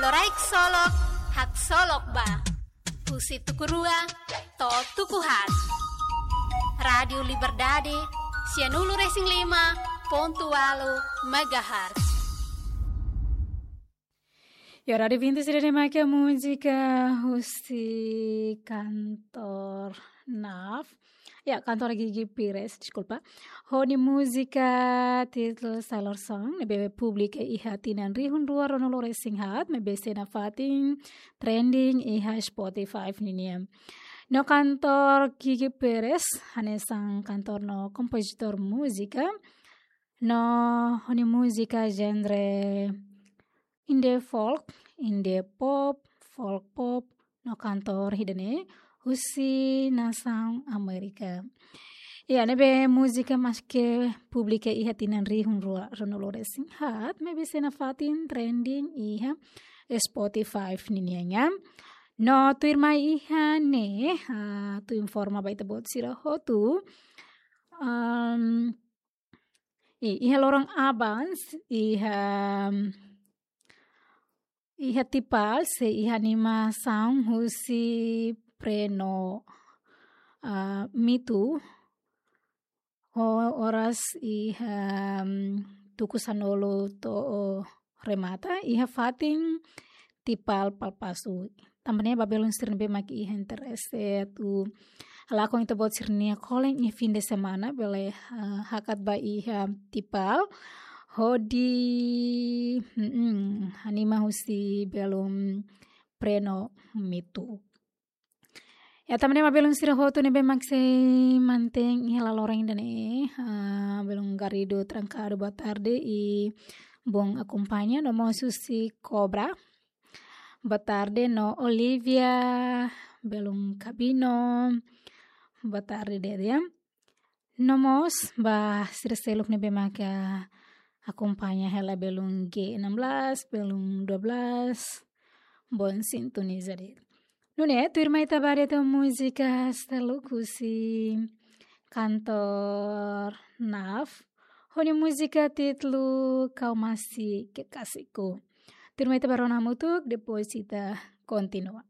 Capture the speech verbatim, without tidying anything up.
Loraik Solok, Haksolok Ba. Husi tuku rua to'o tuku haat. Rádiu Liberdade, sianulu-resin-lima pontu ualu megahertz. Ya, Rádiu Vinti sira de make múzika husi kantór NAF. Ya, kantór Gigi Pires, deskulpa. Ho nia múzika títulu Sailor Song, ne'ebé publika iha tinan rihun rua ruanulu-resin-haat, maibé sei nafatin trending iha Spotify nian. No kantór Gigi Pires, hanesan kantór no kompozitór múzika, no ho nia múzika genre indie folk, indie pop, folk pop, no kantór ida-ne'e husi nasaun Amérika. Ya, ne'ebé múzika maske publika iha tinan rihun rua ruanulu-resin-haat, maibé sei nafatin trending iha Spotify nian. No tuirmai iha ne'e, ah, atu informa ba ita-boot sira hotu. Am, i, iha loron aban, iha, iha Tipal, sei iha animasaun husi Preno, ah, Mitu, ho oras iha, mm, tuku sanulu to'o remata, iha fatin Tipal Palpasu. Tanba ne'e ba belun sira ne'ebé mak iha interese atu halakon ita-boot sira-nia kolen iha fin de semana, bele, ah, hakat ba iha Tipal, hodi, mm, anima husi belun Preno Mitu. Ya, tanba ne'e ba belun sira hotu ne'ebé mak sei mantein iha laloran ida-ne'e, ah, belun Garrido Trancado, boa tarde, i bom acompanha, no mós husi Cobra. Boa tarde, no Olivia, belun Cabino. Boa tarde, Dedia. No mós ba sira seluk ne'ebé maka akompaña hela belun G enam belas, belun dua belas, bom sintoniza de'it. Nune'e, tuirmai ita ba de'it ho múzika seluk husi kantór NAF, ho nia múzika títulu Kau Masih Kekasihku. Tuirmai ita ba rona hamutuk, depois ita kontinua.